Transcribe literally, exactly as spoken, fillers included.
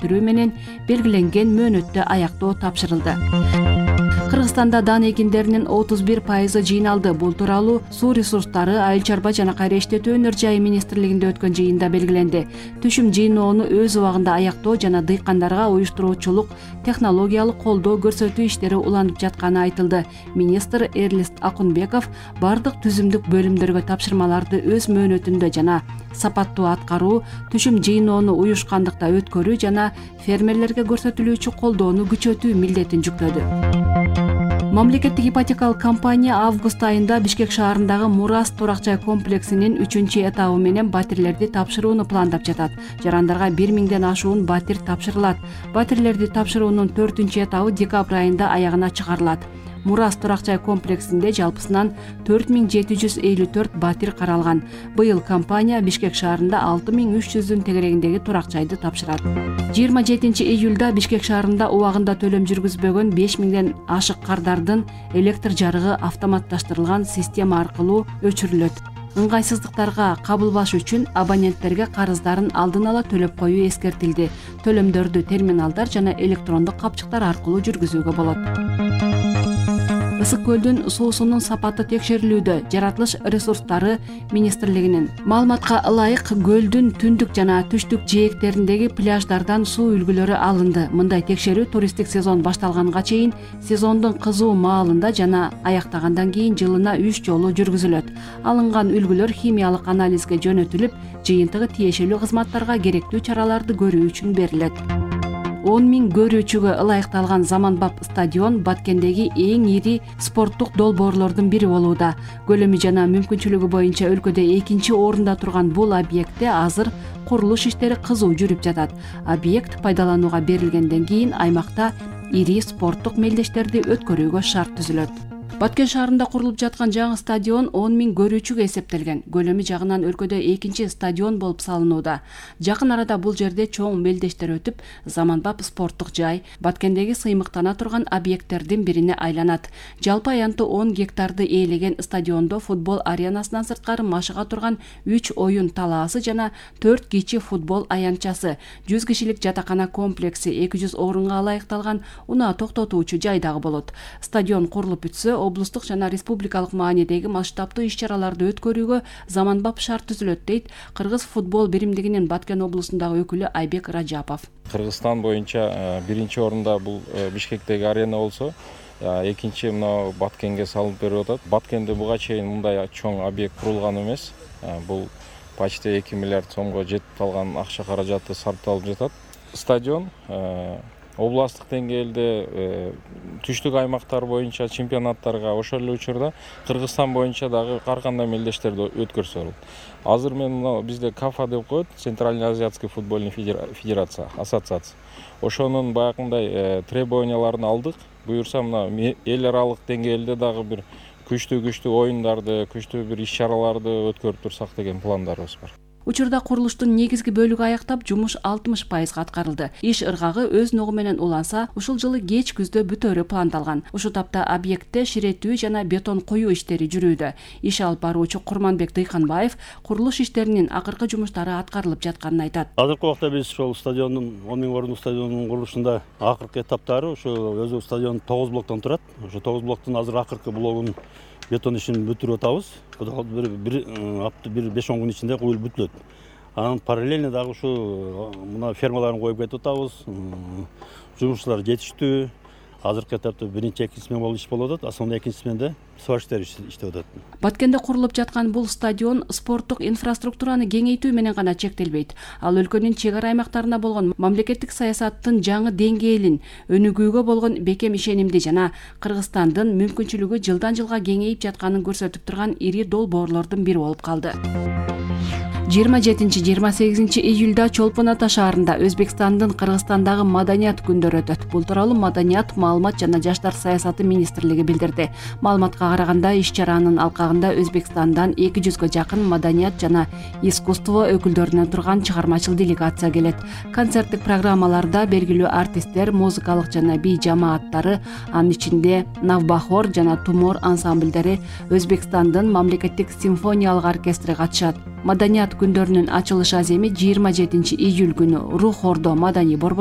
бүтүрүү менен белгиленген мөөнөттө аяктоо тапшырылды. Кыргызстанда дан экиндеринин отуз бир пайызы жыйналды. Бул тууралуу суу ресурстары, айыл чарба жана кайра иштетүү өнөр жайы министрлигинде өткөн жыйында белгиленди. Түшүм жыйноону өз убагында аяктоо жана дыйкандарга уюштуруучулук, технологиялык колдоо көрсөтүү иштери уланып жатканы айтылды. Министр Эрлист Акунбеков бардык түзүмдүк бөлүмдөргө тапшырмаларды өз мөөнөтүндө жана сапаттуу аткаруу, түшүм жыйноону уюшкандыкта өткөрүү жана фермерлерге көрсөтүлүүчү колдоону күчөтүү милдетин жүктөдү. Мамлекеттик ипотекалык компания август айында Бишкек шаарындагы Мурас турак-жай комплексинин үчүнчү этабы менен батирлерди тапшырууну пландап жатат. Жарандарга бир миңден ашуун батир тапшырылат. Батирлерди тапшыруунун төртүнчү этабы декабрь айында аягына чыгарылат. Мурас турак-жай комплексинде жалпысынан төрт миң жети жүз элүү төрт батир каралган. Быйыл компания Бишкек шаарында алты миң үч жүздүн тегерегиндеги турак-жайды тапшырат. жыйырма жетинчи июлда Бишкек шаарында убагында төлөм жүргүзбөгөн беш миңден ашык кардардын электр жарыгы автоматташтырылган система аркылуу өчүрүлөт. Ыңгайсыздыктарга кабылбаш үчүн абоненттерге карыздарын алдын ала төлөп коюу эскертилди. Төлөмдөрдү терминалдар жана электрондук капчыктар аркылуу жүргүзүүгө болот. Ысык көлдүн суусунун сапаты текшерилүүдө. Жаратылыш ресурстары министрлигинин маалыматка ылайык көлдүн түндүк жана түштүк жээктериндеги пляждардан суу үлгүлөрү алынды. Мындай текшерүү туристтик сезон башталганга чейин сезондун кызуу маалында жана аяктагандан кийин жылына үч жолу жүргүзүлөт. Алынган үлгүлөр химиялык анализге жөнөтүлүп, жыйынтыгы тиешелүү кызматтарга керектүү чараларды көрүү үчүн берилет. он миң көрүүчүгө ылайыкталган заманбап стадион Баткендеги эң ири спорттук долбоорлордун бири болууда. Көлөмү жана мүмкүнчүлүгү боюнча өлкөдө экинчи орунда турган бул объектте азыр курулуш иштери кызуу жүрүп жатат. Объект пайдаланууга берилгенден кийин аймакта ири спорттук мелдештерди өткөрүүгө шарт түзүлөт. Баткен шаарында курулуп жаткан жаңы стадион он миң көрүүчүгө эсептелген. Көлөмү жагынан өлкөдө экинчи стадион болуп салынууда. Жакын арада бул жерде чоң мелдештер өтүп, заманбап спорттук жай Баткендеги сыймыктана турган объекттердин бирине айланат. Жалпы аянты он гектарды ээлеген стадиондо футбол аренасынан сырткары машыга турган үч оюн талаасы жана төрт кичи футбол аянтчасы, жүз кишилик жатакана комплекси, эки жүз орунга ылайыкталган унаа токтотуучу жай дагы болот. Стадион курулуп бүтсө, облустук жана республикалык маанидеги масштабтуу иш-чараларды өткөрүүгө заманбап шарт түзүлөт, дейт Кыргыз футбол биримдигинин Баткен облусундагы өкүлү Айбек Ражапов. Кыргызстан боюнча биринчи орунда бул Бишкектеги арена болсо, экинчи мына Баткенге салынып берип атат. Баткенде буга чейин мындай чоң объект курулган эмес. Бул почти эки миллиард сомго жетип калган акча каражаты сарпталып жатат. Стадион областтык деңгээлде түштүк аймактар боюнча чемпионаттарга ошол эле учурда Кыргызстан боюнча дагы ар кандай мелдештерди өткөрсө болот. Азыр мен мына бизде КАФА деп коет, Центральный азиатский футбольный федерация, ассоциация. Ошонун баягындай требованияларын алдык. Буюрса мына эл аралык деңгээлде дагы бир күчтүү-күчтүү оюндарды, күчтүү бир иш-чараларды өткөрүп турсак деген пландарыбыз бар. Учурда курулуштун негизги бөлүгү аяктап, жумуш алтымыш пайызга аткарылды. Иш ыргагы өз ногу менен уланса, ушул жылы кеч күздө бүтөөрү пландалган. Ушул тапта объектте ширетүү жана бетон коюу иштери жүрүүдө. Иш алып баруучу Курманбек Дыйканбаев курулуш иштеринин акыркы жумуштары аткарылып жатканын айтат. Азыркы убакта биз ошол стадиондун он миң орунлук стадиондун курулушунда акыркы этаптары, ушу өзү стадион тогуз блоктон турат. Ошо тогуз блоктун азыр акыркы блогун бетон ишин бүтүрүп атабыз. Бир бир беш он күн ичинде куюлуп бүтүлөт. Анан параллельно дагы ушу мына фермаларын коюп кетип атабыз. Жумушчулар жетиштүү. Азыркы этапта биринчи, экинчи смен болуп иш болуп атат, а сонун экинчи сменде сварщиктер иштеп атат. Баткенде курулуп жаткан бул стадион спорттук инфраструктураны кеңейтүү менен гана чектелбейт. Ал өлкөнүн чек ара аймактарына болгон мамлекеттик саясаттын жаңы деңгээлин, өнүгүүгө болгон бекем ишенимди жана Кыргызстандын мүмкүнчүлүгү жылдан жылга кеңейип жатканын көрсөтүп турган ири долбоорлордун бири болуп калды. жыйырма жетинчи жыйырма сегизинчи июлда Чолпон Ата шаарында Өзбекстандын Кыргызстандагы маданият күндөрү өтөт. Бул тууралуу Маданият, маалымат жана жаштар саясаты министрлиги билдирди. Маалыматка караганда, иш-чаранын алкагында Өзбекстандан эки жүзгө жакын маданият жана искусство өкүлдөрүнөн турган чыгармачыл делегация келет. Концерттик программаларда белгилүү артисттер, музыкалык жана бий жамааттары, анын ичинде Навбахор жана Тумор ансамбльдери, Өзбекстандын мамлекеттик симфониялык оркестри катышат. Маданият күндөрүнүн ачылыш аземи жыйырма жетинчи июль күнү Рух Ордо маданий борбору